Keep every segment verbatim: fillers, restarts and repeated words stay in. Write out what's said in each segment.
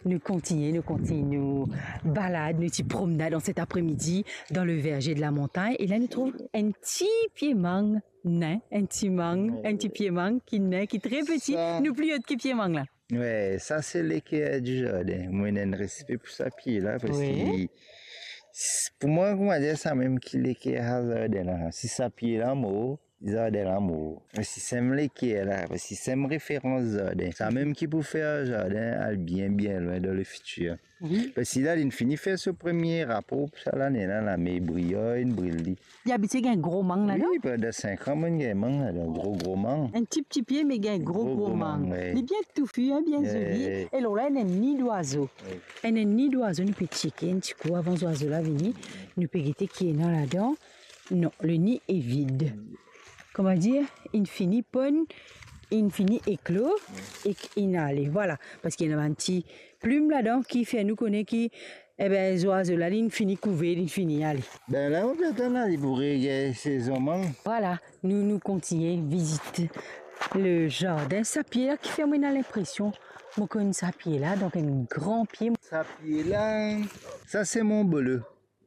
Nou kontigne, nou kontigne nou balad, nou ti promnad an set apremidi dan le verze de la montagn. E la nou trouv enn ti pie mang, nen, enn ti mang, enn ti pie mang ki nen, ki tre peti, sa nou pli ot ki pie mang la. Wi, sa se leker di zardin. Mo ena enn respe pou sa pie la, parski s-, pou mwa, kouma dir, sa mem ki leker sa zardin la. Si sa pie la mor, zardin la mor. Me si sem leker la, si sem referans zardin, sa mem ki pou fer zardin al bien, bien lwin dan lefitir. Wi. Parski la, linn fini fer so premie rapor pou sa lane la, la, me briyer inn bril li. Li abitie gagn gro mang ladan? Wi, pandan sink an, mo'nn gagn mang ladan, gro, gro mang. Enn ti, ti pie, me gagn gro, gro mang. Gro, gro mang, wi. Li bien toufi, en, bien zoli. Wi. E lor la, ena enn ni dwazo. Wi. Ena enn ni dwazo, nou pe tcheke enn ti kou avan zwazo la vini. Nou pe gete ki ena ladan. Non, le ni est vide. Kouma dir, inn fini ponn, inn fini eklo, ek inn ale. Vwala, parski ena bann ti plim ladan ki fer nou kone ki, ebe, zwazo la, linn fini kouve, linn fini ale. Be la, nou pe atann la, li pou regagn sezon mang. Vwala, nou, nou kontigne vizit le zardin. Sa pie la ki fer mwa ena linpresion mo konn sa pie la, donk enn gran pie. Sa pie la, sa se monbolo.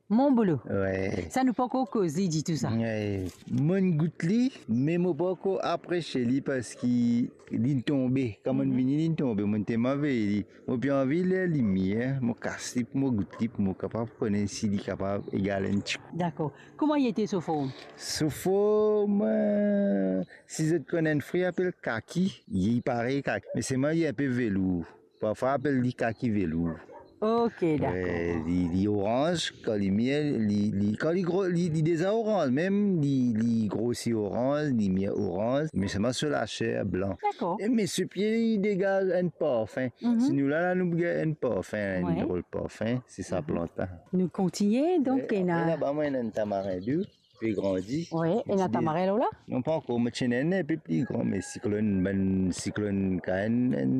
Monbolo. Wi. Sa nou pankor koze ditou sa. Wi. Mo'nn gout li, me mo pankor apresie li parski linn tonbe. Kan mo'nn vini, linn tonbe. Mo'nn telman vey li. Mo pe anvi ler limier, mo kas li pou mo gout li, pou mo kapav kone si li kapav egal enn ti kou. Dakor. Kouma li ete so form? So form, eh, si zot konn enn fri apel kaki, li parey kaki, me selman li enpe velour. Parfwa apel li kaki velour. Ok, dakor. Eh, li, li oranz, kan li mir, li, li, kan li gro-, li, li deza oranz, mem li, li grosi oranz, li mir oranz, me selman so laser blan. Dakor. E me so pie, li degaz enn parfin. Mhm. Si nou la, la, nou gagn enn parfin, enn drol parfin, se sa plant la. Nou kontigne, donk, ena apre laba, mwa, ena enn tamarin dou. Pe grandi. Wi, ena tamarin lor la? Non, pankor, mo ti ena enn pe pli gran, me siklonn, bann siklonn Kaenn, enn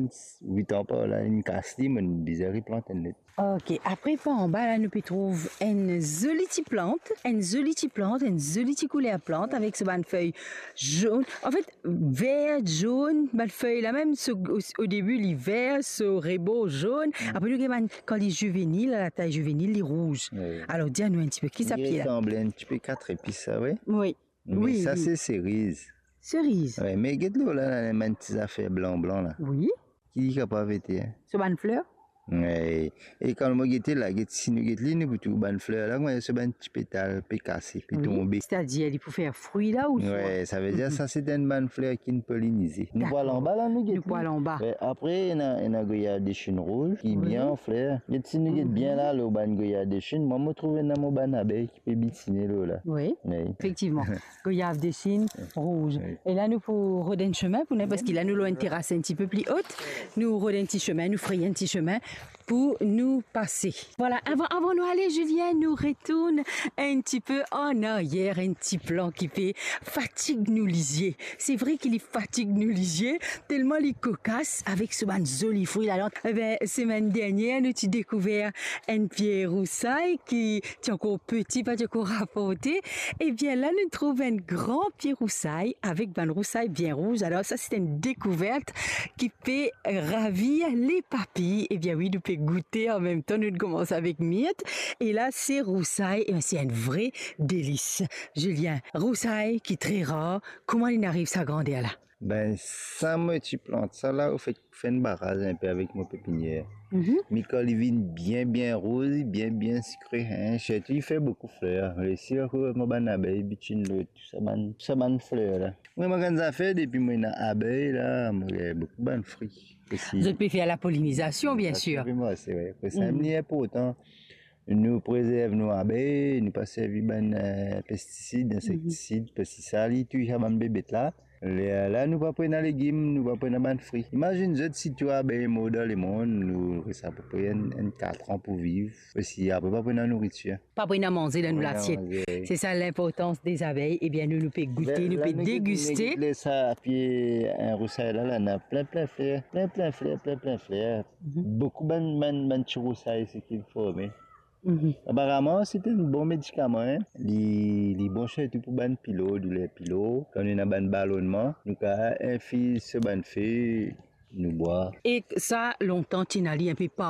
wit an par la, inn kas li, mo'nn bizin replant enn lot. Ok, apre par anba la, nou pe trouv enn zoli ti plant, enn zoli ti plant, enn zoli ti kouler plant avek so bann fey zonn. Anfet, ver, zonn, bann fey la mem, so, o, o debi li ver, so rebor zonn. Mm. Apre nou gagn bann, kan li zivenil, a latay zivenil, li rouz. Wi. Alor, dir anou enn tipe, ki sa pie la? Li resanble enn tipe katrepis sa, wi. Wi. Me sa, wi, se seriz. Seriz. Wi, me get lor la, la, bann ti zafer blan, blan la. Wi. Ki li kapav ete, en? So bann fler? Wi. E kan mo gete la, get, si nou get li, nou pou trouv bann fler la, kouma so bann ti petal pe kase, pe tonbe. Wi, setadir li pou fer fri la ouswa? Wi, savedir sa se enn bann fler ki'nn polinize. Dakor. Nou pou al anba la, nou get li. Nou pou al anba. Wi, apre, ena, ena goyav de Chine rouz, ki bien an fler. Get, si nou get bien la, lor bann goyav de Chine, mwa, mo trouv ena mo bann abey ki pe bitine lor la. Wi. Wi. Efektivman. Goyav de Chine, rouz. Wi. E la, nou pou rod enn sime pou nou, parski la, nou lor enn teras enn tipe pli ot. Nou rod enn ti sime, nou frey enn ti sime pou nou pase. Vwala, avan, avan nou ale, Julien, nou retourn enn tipe an aryer, enn ti plan ki pe fatig nou lizie. Se vre ki li fatig nou lizie, telman li kokas avek so bann zoli fri ladan. Ebe, semenn dernier, nou ti dekouver enn pie rousay ki ti ankor peti, pa ti ankor raporte. Ebien, la, nou trouv enn gran pie rousay avek bann rousay bien rouz. Alor, sa, se enn dekouvert ki pe ravir lepapi. Ebien wi, nou pe goute an mem tan, nou koumans avek mirt. E la, se rousay, e se enn vre delis. Julien, rousay ki tre rar, kouma linn ariv sa grander la? Be, sa mo ti plant sa la, anfet, fer enn baraz enpe avek mo pepinier. Mhm. Me kan li vinn bien, bien rouz, bien, bien sikre, en, sirtou li fer boukou fler. Resi akoz mo bann abey bitinn lor tou sa bann, sa bann fler la. Mwa, mo gagn zafer depi mo ena abey la, mo gagn boukou bann fri osi. Zot pe fer lapolinizasion, biensir. Sa, wi. Pou sa, li inportan. Nou prezerv nou abey, nou pa servi bann, eh, pestisid, insektisid, parski sa, li touy sa bann bebet la. Lerla, nou pa pou ena legim, nou pa pou ena bann fri. Imazinn zot, si tou abey mor dan lemonn, nou res apepre enn, enn kat an pou viv, parski apre pa pou ena nouritir. Pa pou ena manze dan nou lasiet. Pa pou ena manze, wi. Se sa linportans dezabey. Ebien, nou, nou pe goute, nou pe degiste. Ler, ler nou get, nou get ler sa pie, eh, rousay la, la, ena plin, plin fler, plin, plin fler, plin, plin fler. Mhm. Boukou bann, bann, bann ti rousay isi ki forme. Mhm. Aparaman, se enn bon medikaman, en. Li, li bon sirtou pou bann pilo, douler pilo. Kan nou ena bann balonnman, nou kav infiz so bann fey, nou bwar. E sa, lontan, ti ena li inpe par